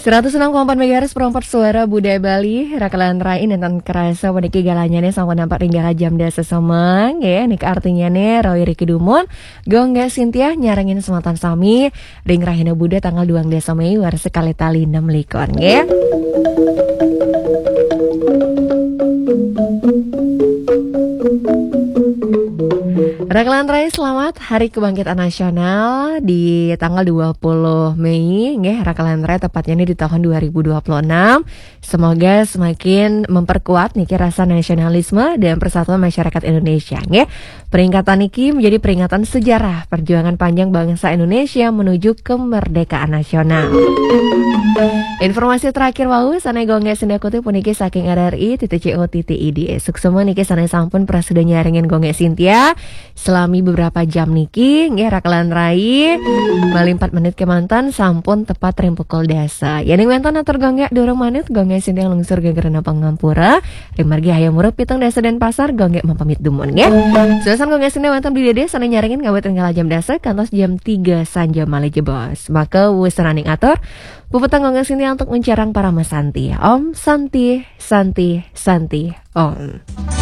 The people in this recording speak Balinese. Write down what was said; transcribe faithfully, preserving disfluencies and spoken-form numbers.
Seratus enam koma empat megahertz, perompat suara budaya Bali, raka lan rai. Nénten kerasa puniki galahnya nih sampun nampak ring galah jam dasa semeng, ya. Nika artinya nih, rawi riki dumun, Gung Gék Sintiah nyarengin semeton sami, ring Rahina Buda tanggal dua belas Mei, warsa kalih tali enam likur, nggih. Raka lan rai, selamat Hari Kebangkitan Nasional di tanggal dua puluh Mei, nggih, raka lan rai, tepatnya nih di tahun dua ribu dua puluh enam. Semoga semakin memperkuat niki rasa nasionalisme dan persatuan masyarakat Indonesia, nggih. Peringatan niki menjadi peringatan sejarah perjuangan panjang bangsa Indonesia menuju kemerdekaan nasional. Informasi terakhir wau sané Gung Gék Sintiah kutip puniki saking R R I titik C O titik I D. Suksma niki sané sampun prasida nyarengin Gung Gék Sintiah selami beberapa jam niki, nggih, raka lan rai. Malih empat menit kemanten sampun tepat ring pukul dasa. Yéning wénten atur Gung Gék durung manut, Gung Gék Sintiah lungsur gegerna pangampura. Ring margi Hayam Wuruk pitung dasa Dénpasar, Gung Gék mapamit dumun, nggih. Suksma Gung Gék Sintiah wénten Bli Dédé sané nyarengin ngawit ring galah jam dasa kantos jam tiga sanja malih jebos. Maka wusananing atur, puputang Gung Gék Sintiah antuk nguncarang parama santi. Om Santi, Santi, Santi, Om.